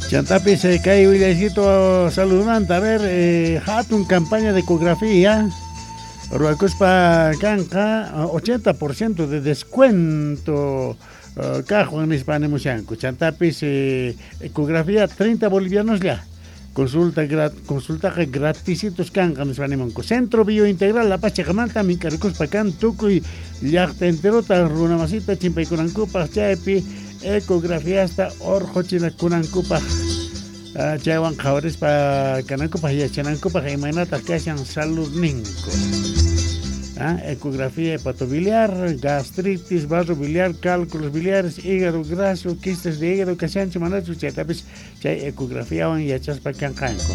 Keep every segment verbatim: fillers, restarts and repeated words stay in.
Chantapis eh, kay willaycito saludmanta, a ver, eh, hatun campaña de ecografía ruwakuspa kanqa ochenta por ciento de descuento uh, kaqwan nispa nimushanku. Chantapis eh, ecografía treinta bolivianos ya. Consulta grat, consultaqa gratisitos kanqa nispa nimunku. Centro Biointegral La Paz chiqamanta mink'arikuspa kan tukuy llaqta enterota runamasita chimpaykunankupaq chaypi ecografiasta orqhuchinakunankupaq uh, chaywan qhawarispa kanankupaq yachanankupaq imaynataq kashan saludninku. Ah, ecografía hepatobiliar, gastritis, barro biliar, cálculos biliares, hígado graso, quistes de hígado, kashanchu manachu chaytapis chay ecografiawan yachaspa kanqanku.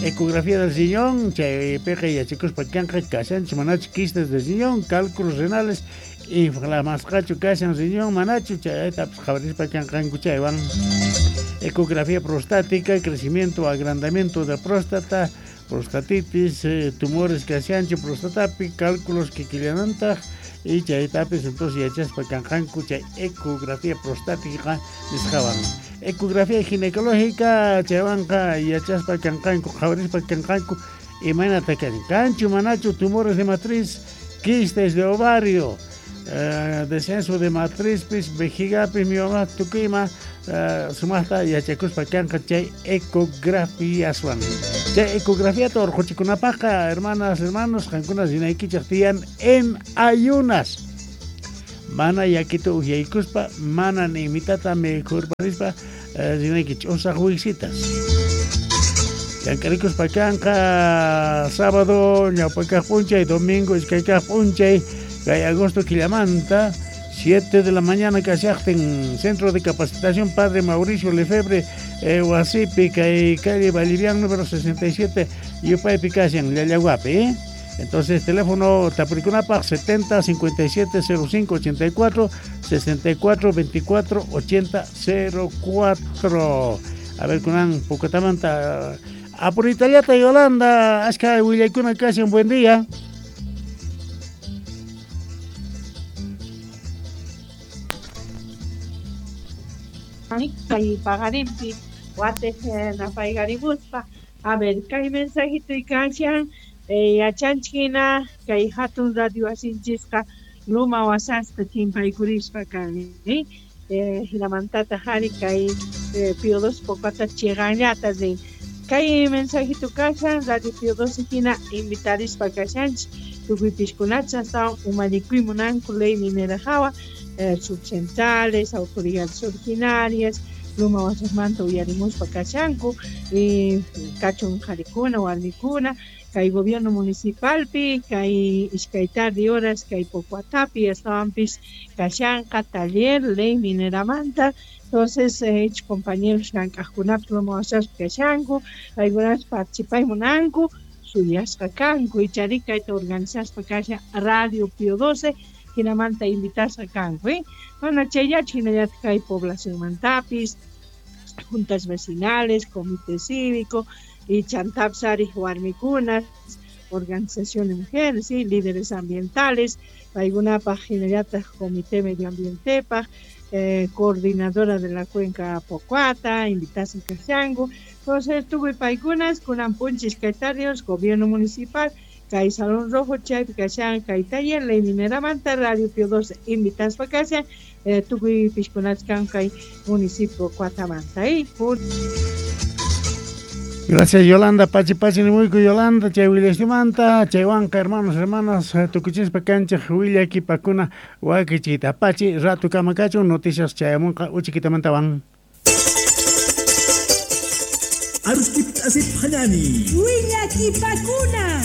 Ecografía del riñón, chaypiqa yachakuspa kanqa kashanchu manachu quistes del riñón, cálculos renales, inflamasqachu kashan riñón manachu chaytapis qhawarispa kanqanku chaywan. Ecografía prostática, crecimiento, agrandamiento de próstata, prostatitis, eh, tumores kashanchu prostatapi, cálculos kikillanantaq y chaytapis entonces yachaspa kanqanku chay ecografía prostática nisqawan. Ecografía ginecológica chaywanqa yachaspa kanqanku qhawarispa kanqanku imaynata kashan kanchu manachu tumores de matriz, quistes de ovario, eh, descenso de matriz pis vejigapis mioma tukuyma uh, sumaqta yachakuspa kanqa chay ecografiaswan. Chay ecografiata urquchikunapaqqa, hermanas, hermanos, qankuna rinaykichik tiyan en ayunas. Mana yakita uhyaykuspa, mana ni mitata mikhurparispa uh, rinaykichik usaq wisitas. Llank'arikuspa kanqa sábado ñawpakaq p'unchay, domingo iskaykaq p'unchay, kay agosto killamanta siete de la mañana kashaqtin Centro de Capacitación Padre Mauricio Lefebvre eh, wasipi kay calle Vallivian número sesenta y siete yupaypi kashan Llallaguapi, ¿eh? Entonces teléfono tapurikunapaq setenta cincuenta y siete cero cinco ochenta y cuatro sesenta y cuatro veinticuatro ochenta cero cuatro. A ver kunan pukatamanta apuritallata Yolanda ashka willaykuna kashan. Buen día. Kay paqarinpi watej napayqarimuspa. A ver, kay mensajito kashan eh, yachanchik kay hatun radio wasinchisqa luma wasasqa chimpaykurispa kan, eh? Eh, hinamantata hari kay eh, Pío doce Pocuata chiqanllata rin. Kay mensajito kashan Radio Pío doce hina invitarispa kashanchik tukuy pishkunacha astawan umalikuy munanku ley minera hawa, eh, subcentrales, autoridades originarias, luma wasasmanta uyarimuspa kashanku, y kachun qarikuna, warmikuna, kay gobierno municipalpi, kay iskay tarde horas, kay Pocuatapi, astawanpis kashanqa taller ley mineramanta. Entonces, eh, compañeros llank'aqkunapis luma wasaspi kashanku, paykunapas participay munanku, suyasqa kanku, ichari kayta organizaspa kashan Radio Pío doce, hinamanta invitasqa kanku, eh? Bueno, chayllachu hinallataq kay poblacionmantapis, juntas vecinales, comité cívico, y chantapis ari warmikunas, organización de mujeres, ¿sí? Líderes ambientales, paykunapaq hinallataq comité medioambientepaq, eh, coordinadora de la cuenca Pocuata, invitasqa kashanku. Entonces, tukuy paykunas, kunan punchis kay tardios, gobierno municipal, kay Salón Rojo, chaypi kashan, kay taller, ley mineramanta, Radio Pío doce, invitaspa kashan, eh, tukuy pishkunas kan kay municipio Cuatamanta. ¿Eh? Gracias Yolanda, pachi pachi nimuyku Yolanda, chay willastimanta, chaywanqa hermanos, hermanas, tukuchispa kanchik willakipakuna wakichita pachi ratu kama kachun, noticias chayamunqa uchikitamanta. Arustip asip hanani. Willakipakuna.